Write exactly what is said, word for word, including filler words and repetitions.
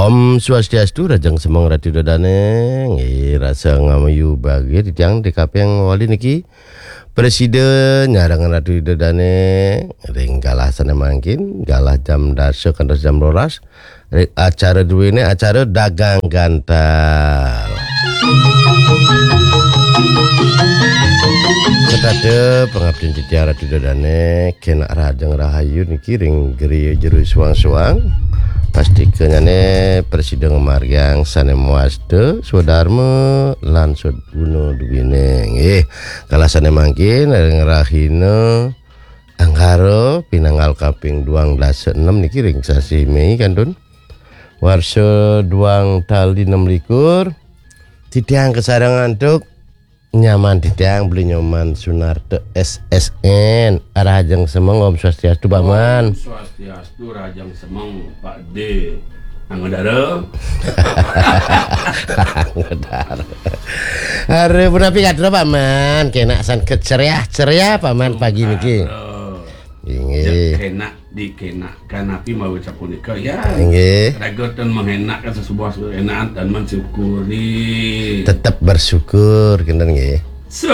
Om Swastiastu, rahajeng semeng Ratu Ida Dane. Nggih, rasa ngamayu bagia titiang di kaping wali niki. Presida nyarengin Ratu Ida Dane ring galah sane mangkin, galah jam dasa kantos jam rolas. Ring acara duene, acara dagang gantal. Setata pangabdian titiang Ratu Ida Dane, kenak rahajeng rahayu niki ring griya jero suang-suang. Pastikanyane prasida ngamargiang sane mawasta, swadarma lan swadguna duene. Nggih, kala sane mangkin ring rahina Anggara pinanggal kaping duang dasa enem niki ring sasi Mei kantun. Warsa duang tali enam likur. Titiang kasarengin antuk nyaman titiang Beli Nyoman Sunarta S S N. Rahajeng semeng, Om Swastiastu, Paman. Om Swastiastu, rahajeng semeng, Pak D. Anggadara. Anggadara. Are punapi kadra, Paman? Kenak san keceriah-ceriah, Paman, pagi niki. Anggadara. Inggih. Kenak dikenakan api mawi sapunika ya. Inggih. Raga ten menghenakkan sesebuah enakan ten mensyukuri. Tetap bersyukur, kinten nggih. So